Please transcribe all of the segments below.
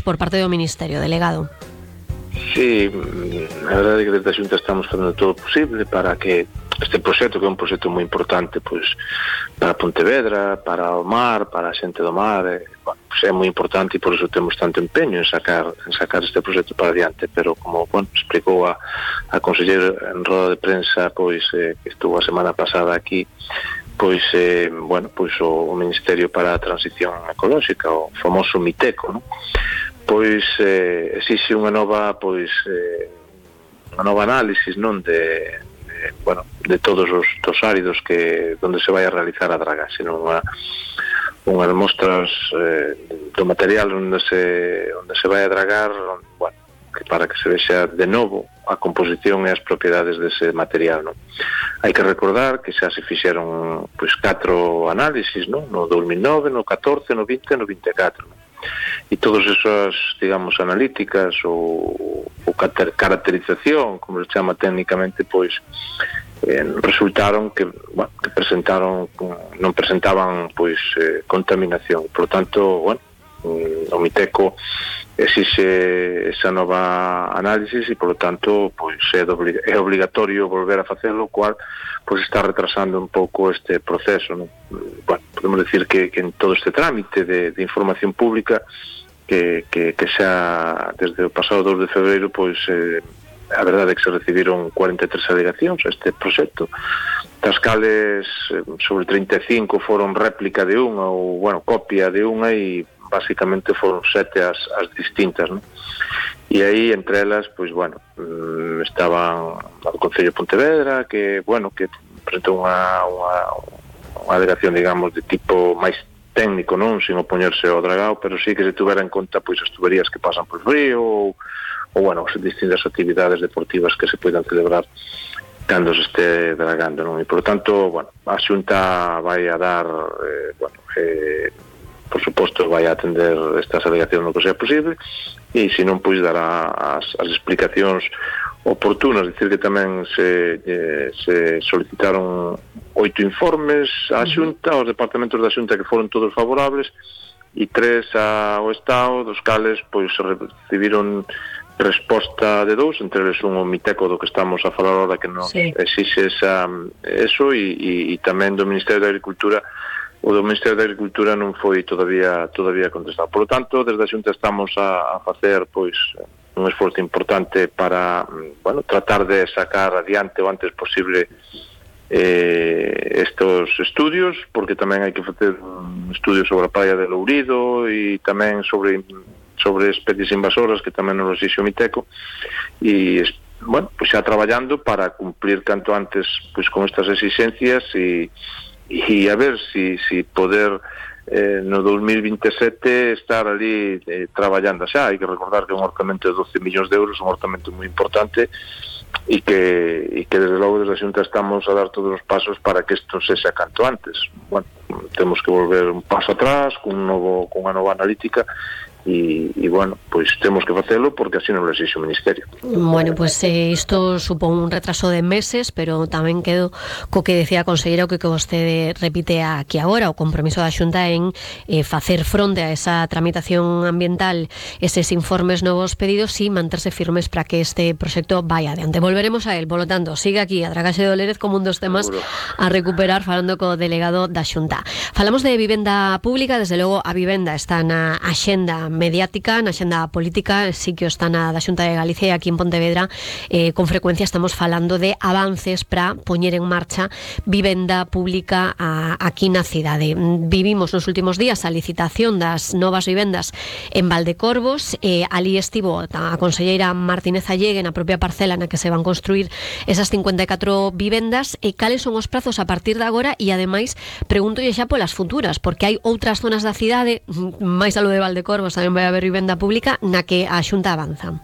por parte do Ministerio, delegado. Sí, a verdade é que desde a Xunta estamos facendo todo o posible para que este proxecto, que é un proxecto moi importante, pois, para Pontevedra, para o mar, para a xente do mar, bueno, pois é moi importante e por iso temos tanto empeño en sacar este proxecto para adiante, pero como, bueno, explicou a conselleira en roda de prensa, pois, que estuvo a semana pasada aquí, pois, bueno, pois o Ministerio para a Transición Ecolóxica, o famoso MITECO, non? Pois exixe unha nova, pois, unha nova análisis, non, de todos os áridos que onde se vai a realizar a dragaxe, non, unhas mostras do material onde se vai a dragar, bueno, que para que se vexa de novo a composición e as propiedades dese material, non? Hai que recordar que xa se fixeron, pois, 4 análisis, non? No 2009, no 14, no 20 e no 24, non? E todas esas, digamos, analíticas ou caracterización, como se chama técnicamente, pois resultaron que, bueno, que non presentaban, pois, contaminación. Por lo tanto, bueno, o MITECO exixe esa nova análisis e, por lo tanto, pois é obligatorio volver a facelo, o cual pois está retrasando un pouco este proceso, non? Bueno, podemos decir que en todo este trámite de información pública que xa desde o pasado 2 de febreiro, pois a verdade é que se recibiron 43 alegacións a este proxecto, das cales sobre 35 foron réplica de unha ou, bueno, copia de unha, e basicamente foron 7 as distintas, non? E aí, entre elas, pois, bueno, estaban o Concello de Pontevedra, que, bueno, que presentou unha alegación, digamos, de tipo máis técnico, non, sin opoñerse ao dragao, pero sí que se tuvera en conta, pois, as tuberías que pasan por río, ou bueno, as distintas actividades deportivas que se poidan celebrar cando se este dragando, non? E, por tanto, bueno, a Xunta vai a dar, por suposto, vai a atender estas alegacións no que sea posible, e se non, pois, dará as explicacións oportunas. Dicir que tamén se solicitaron 8 informes á Xunta, aos departamentos da Xunta, que foron todos favorables, e 3 ao Estado, dos cales, pois, recibiron resposta de 2, entre eles un o MITECO do que estamos a falar ahora, que nos exixe eso, e tamén do Ministerio de Agricultura. O do Ministerio de Agricultura non foi todavía contestado. Por lo tanto, desde a Xunta estamos a facer, pois, un esforzo importante para, bueno, tratar de sacar adiante o antes posible estos estudios, porque tamén hai que facer un estudio sobre a praia de Lourido e tamén sobre especies invasoras, que tamén nos exixe o MITECO, e, bueno, pois xa traballando para cumplir canto antes, pois, con estas exigencias, e a ver si poder no 2027 estar ali traballando xa. Hai que recordar que é un orzamento de 12 millóns de euros, un orzamento moi importante, e que desde logo desde a Xunta estamos a dar todos os pasos para que isto sexa canto antes. Bueno, temos que volver un paso atrás con unha nova analítica, e bueno, pois temos que facelo porque así non lo exixe o Ministerio. Bueno, pois isto supón un retraso de meses, pero tamén quedo co que decía a conselleira, o que vostede repite aquí agora, o compromiso da Xunta en facer fronte a esa tramitación ambiental, eses informes novos pedidos, e manterse firmes para que este proxecto vaya adiante. Volveremos a él, polo tanto, sigue aquí a dragaxe de Olérez como un dos temas a recuperar, falando co delegado da Xunta. Falamos de vivenda pública, desde logo a vivenda está na axenda mediática, na xenda política, sí que está na da Xunta de Galicia, e aquí en Pontevedra con frecuencia estamos falando de avances para poñer en marcha vivenda pública aquí na cidade. Vivimos nos últimos días a licitación das novas vivendas en Valdecorvos, ali estivo a conselleira Martínez Allegue na propia parcela na que se van construir esas 54 vivendas, e cales son os prazos a partir de agora, e ademais pregúntolle xa polas futuras, porque hai outras zonas da cidade, máis a lo de Valdecorvos, tamén vai haber vivenda pública na que a Xunta avanza.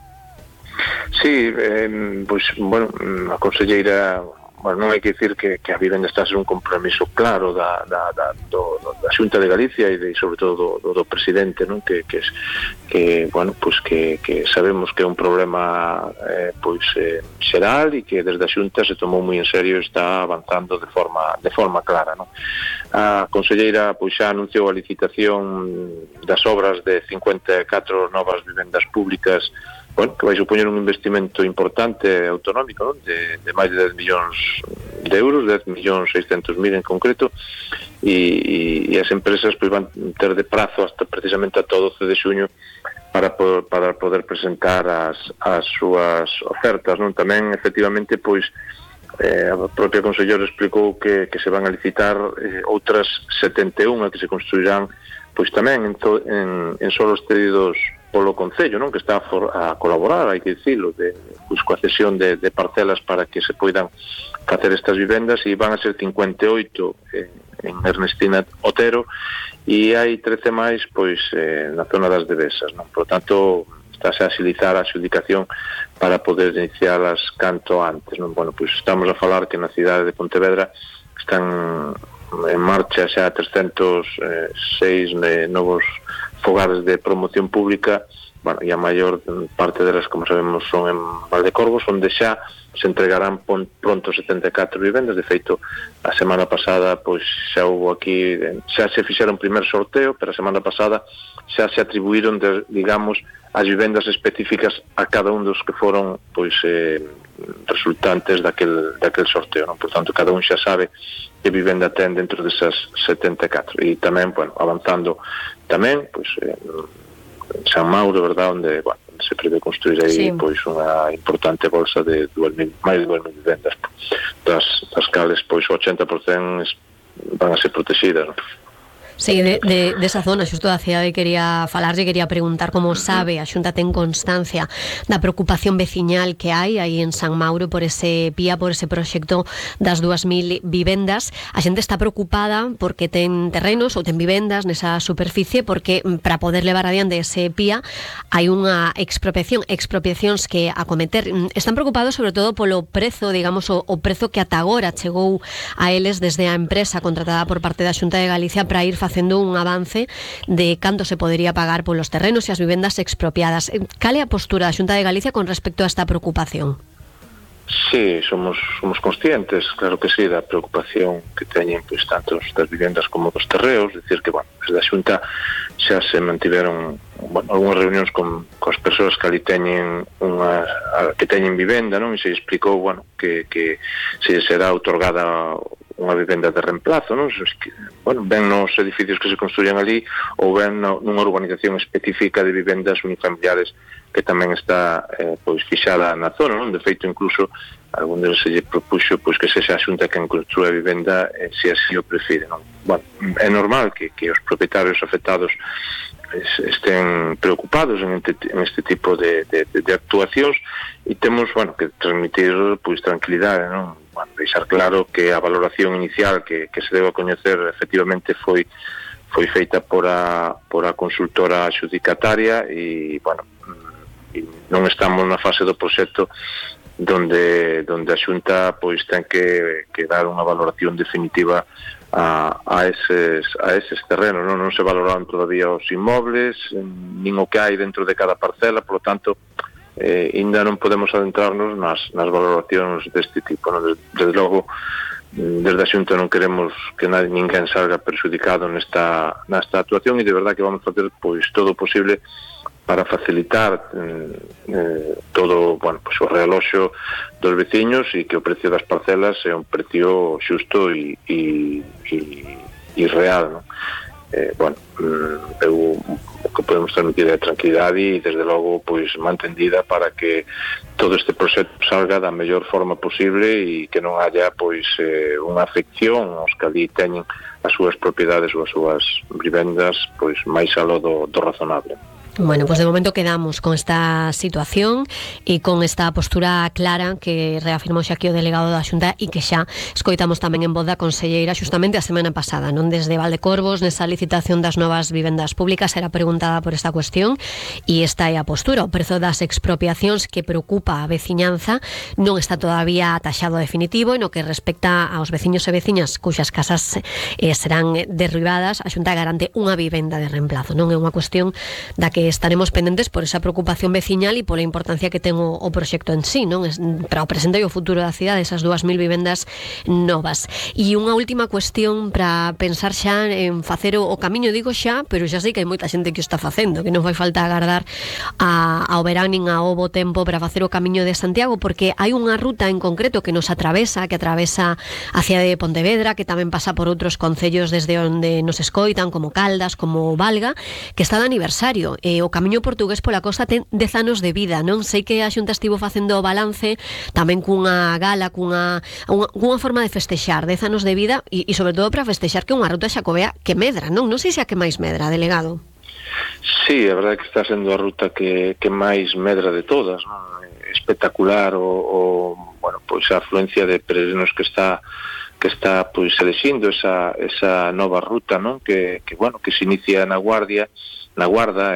Sí, pois, bueno, a conselleira non hai que dicir que a vivenda está a ser un compromiso claro da Xunta de Galicia e sobre todo do presidente, non? Que sabemos que é un problema xeral e que desde a Xunta se tomou moi en serio e está avanzando de forma clara, non? A conselleira xa anunciou a licitación das obras de 54 novas vivendas públicas, que vai supoñer un investimento importante autonómico, non? De máis de 10 millóns de euros, 10.600.000 en concreto, e as empresas van ter de prazo hasta precisamente ata o 12 de xuño para poder presentar as súas ofertas, non? Tamén, efectivamente, a propia conselleira explicou que se van a licitar outras 71 que se construirán tamén en solos cedidos polo Concello, non? Que está a colaborar, hai que dicilo, coa cesión de parcelas para que se poidan facer estas vivendas, e van a ser 58 en Ernestina Otero, e hai 13 máis na zona das Devesas, non? Por tanto, estáse a agilizar a adjudicación para poder iniciarlas canto antes, non? Estamos a falar que na cidade de Pontevedra están en marcha xa 306 novos fogares de promoción pública, e a maior parte delas, como sabemos, son en Valdecorvos, onde xa se entregarán pronto 74 vivendas. De feito, a semana pasada xa houve aquí, xa se fixeron un primer sorteo, pero a semana pasada xa se atribuíron, digamos, as vivendas específicas a cada un dos que foron resultantes daquel sorteo, non? Por tanto, cada un xa sabe que vivenda ten dentro desas 74. E tamén, avanzando tamén, en San Mauro, verdad, onde se prevé construir aí unha importante bolsa de máis de 2.000 vivendas, das cales o 80% van a ser protegidas, non? Sí, de esa zona, xusto da cidade, quería falarlle, quería preguntar como sabe, a Xunta ten constancia da preocupación veciñal que hai aí en San Mauro por ese PIA, por ese proxecto das 2.000 vivendas. A xente está preocupada porque ten terrenos ou ten vivendas nesa superficie, porque para poder levar adiante ese PIA hai unha expropiacións que acometer. Están preocupados sobre todo polo prezo, digamos, o prezo que ata agora chegou a eles desde a empresa contratada por parte da Xunta de Galicia para ir facendo un avance de canto se podería pagar polos terrenos e as vivendas expropiadas. Cal é a postura da Xunta de Galicia con respecto a esta preocupación? Sí, somos conscientes, claro que sí, da preocupación que teñen tanto das vivendas como dos terreos. Dicir que, desde a Xunta xa se mantiveron algunhas reunións con as persoas que ali teñen que teñen vivenda, non? E se explicou, que se será outorgada unha vivenda de reemplazo, non? Ben nos edificios que se construían ali, ou ben nunha urbanización específica de vivendas unifamiliares que tamén está fixada na zona, non? De feito, incluso algún deles se lle propuxo que sexa a Xunta quen construa a vivenda se así o prefire, non? É normal que os propietarios afectados estén preocupados en este tipo de actuacións, e temos que transmitir tranquilidade, non? Deixar claro que a valoración inicial que se debe coñecer efectivamente foi feita por a consultora adxudicataria, e non estamos na fase do proxecto donde a Xunta ten que dar unha valoración definitiva a eses terrenos, non se valoraron todavía os inmobles, nin o que hai dentro de cada parcela, por lo tanto ainda non podemos adentrarnos nas valoracións deste tipo, non? Desde logo, desde a Xunta non queremos que ninguén salga perxudicado nesta actuación, e de verdad que vamos a facer todo o posible para facilitar todo o realoxo dos veciños, e que o precio das parcelas é un precio xusto e real, non? O que podemos transmitir é tranquilidade e, desde logo, mantendida para que todo este proxecto salga da mellor forma posible e que non haya unha afección aos que ali teñen as súas propiedades ou as súas vivendas máis aló do razonable. Bueno, pues de momento quedamos con esta situación e con esta postura clara que reafirmou xa aquí o delegado da Xunta e que xa escoitamos tamén en voz da conselleira xustamente a semana pasada, non? Desde Valdecorvos, nesa licitación das novas vivendas públicas, era preguntada por esta cuestión e esta é a postura. O prezo das expropiacións que preocupa a veciñanza non está todavía taxado definitivo e no que respecta aos veciños e veciñas cuxas casas serán derribadas, a Xunta garante unha vivenda de reemplazo, non é unha cuestión da que estaremos pendentes por esa preocupación veciñal e pola importancia que ten o proxecto en sí, non? Para o presente e o futuro da cidade, esas 2.000 vivendas novas. E unha última cuestión para pensar xa en facer o camiño, digo xa, pero xa sei que hai moita xente que o está facendo, que non vai falta agardar ao verán nin ao bo tempo para facer o camiño de Santiago, porque hai unha ruta en concreto que nos atravesa, que atravesa a cidade de Pontevedra, que tamén pasa por outros concellos desde onde nos escoitan, como Caldas, como Valga, que está de aniversario. O camiño portugués pola costa ten 10 anos de vida, non? Sei que a Xunta estivo facendo o balance tamén cunha gala, cunha forma de festexar 10 anos de vida e sobre todo para festexar que unha ruta xacobea que medra, non? Non sei se a que máis medra, delegado. Sí, a verdade é que está sendo a ruta que máis medra de todas, non? Espectacular bueno, pois a afluencia de peregrinos que está pois elixindo esa nova ruta, non? Que bueno, que se inicia na Guarda,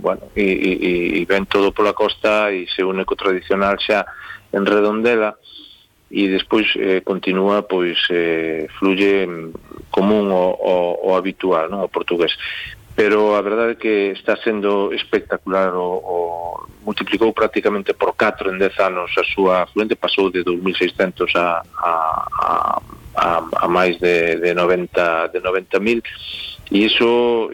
bueno, e ven todo pola costa e se une co tradicional xa en Redondela e despois continúa, pois fluye común o habitual, non? O portugués. Pero a verdade é que está sendo espectacular, multiplicou prácticamente por 4 en 10 anos a súa afluente, pasou de 2.600 a máis de 90.000. E iso,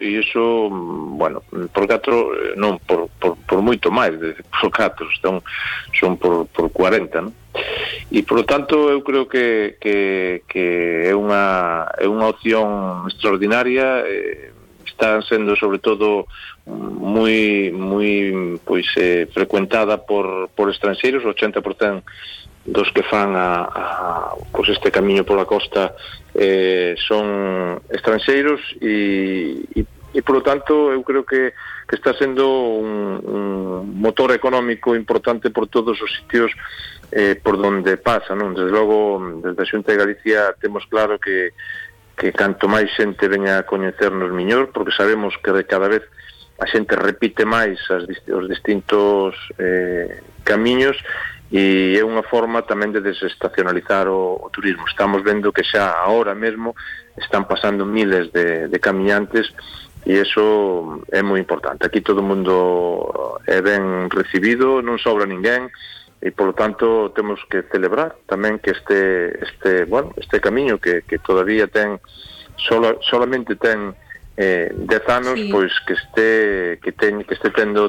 bueno, por 4, non, por moito máis, por 4, son por 40, non? E, por lo tanto, eu creo que é unha opción extraordinaria. Está sendo, sobre todo, moi pois frecuentada por estranxeiros. O 80% dos que fan pois este camiño pola costa son estranxeiros e polo tanto eu creo que está sendo un motor económico importante por todos os sitios por donde pasa, non? Desde logo, desde a Xunta de Galicia temos claro que canto máis xente veña a coñecernos mellor, porque sabemos que cada vez a xente repite máis os distintos camiños e é unha forma tamén de desestacionalizar o turismo. Estamos vendo que xa agora mesmo están pasando miles de camiñantes e iso é moi importante. Aquí todo o mundo é ben recibido, non sobra ninguén e, polo tanto, temos que celebrar tamén que este camiño que todavía solamente ten 10 anos, sí, pois que este tendo